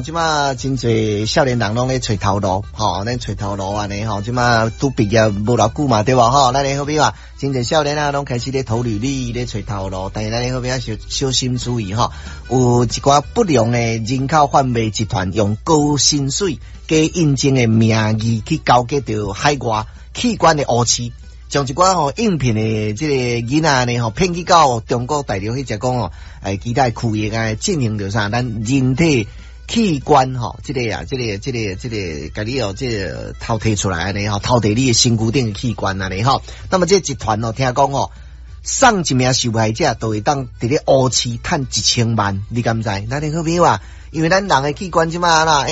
這馬真濟少年人攏咧揣頭路，吼，咧揣頭路按呢吼，這馬拄畢業無偌久嘛，對無吼？咱的好比話，真濟少年啊，攏開始咧投履歷，咧揣頭路，但是咱的好比啊，小小心注意吼，有一寡不良的人口販賣集團，用高薪水、假應徵的名義去勾結著海外器官的烏市，將一寡吼應聘的這個囡仔呢吼騙去到中國大陸去，才講吼，其他區域啊進行著啥，咱人體器官吼，這個啊，這個、這個、這個，共你哦，這個偷提出來按呢吼，偷提你的身軀頂的器官按呢吼。那麼這集團哦，聽講吼，送一名受害者就會當佇咧烏市趁1000萬，你敢知？咱的好朋友啊，因為咱人的器官這馬啦，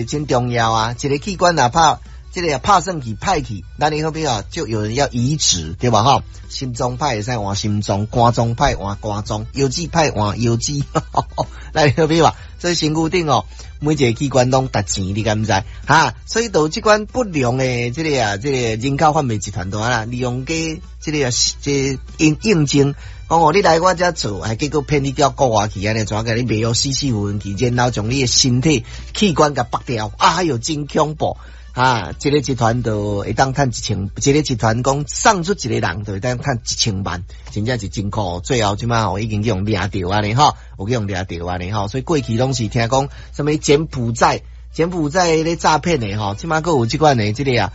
真重要啊，一個器官若拍，這個拍算去歹去，咱的好朋友就有人要移植，對吧？吼，心臟歹會使換心臟，肝臟歹換肝臟，腰子歹換腰子，咱的好朋友啊，所以身軀頂哦，每一個器官攏值錢，你敢知？哈，所以就這款不良的這個啊，這個人口販賣集團都啊，利用假這個啊，這個應應徵，講哦，你來我遮做，還結果騙你到國外去，按呢怎共你賣予死死混去，然後將你的身體器官共剝掉，哎喲，真恐怖！啊，這個集團就會當趁一千，這個集團講送出一個人就會當趁一千萬，真正是真苦。最後這馬吼已經去予掠著按呢吼，有去予掠著按呢吼，所以過去攏是聽講啥物柬埔寨、柬埔寨咧詐騙的吼，這馬閣有這款的這個啊，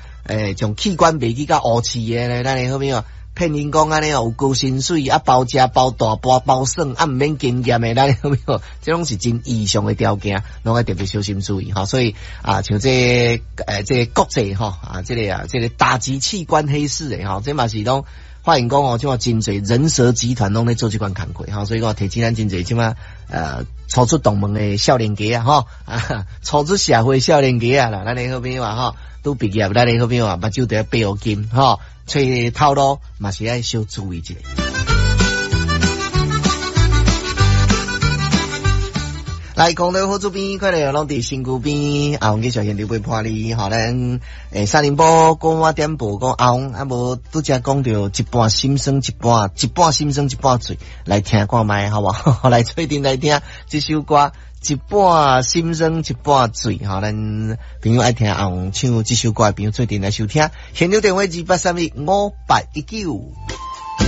將器官賣去到烏市的咧，咱的好朋友騙𪜶講按呢哦，有高薪水啊，包食包大包包耍，啊毋免經驗的，咱的好朋友，這攏是真異常的條件，攏愛特別小心注意吼。所以啊，像這個這個國際吼啊，這個啊，這個打擊器官黑市的吼，這嘛是攏發現講哦，這馬真濟人蛇集團攏咧做這款工課吼，所以講提醒咱真濟這馬初出大門的少年家啊吼，啊初出社會少年家啊啦，咱的好朋友啊吼，拄畢業，咱的好朋友啊，目睭著愛閉緊吼。揣頭路嘛是愛小注意一下。來，空中好主編，快樂攏佇身軀邊，阿紅繼續現場陪伴你。吼，咱三重埔廣我點播講阿紅，啊無拄才講著一半心酸，一半一半心酸，一半醉，來聽看覓，好無？來做陣來聽這首歌。一半心酸，一半醉，吼！咱朋友愛聽阿紅唱這首歌的朋友，做陣來收聽。現場電話28315819。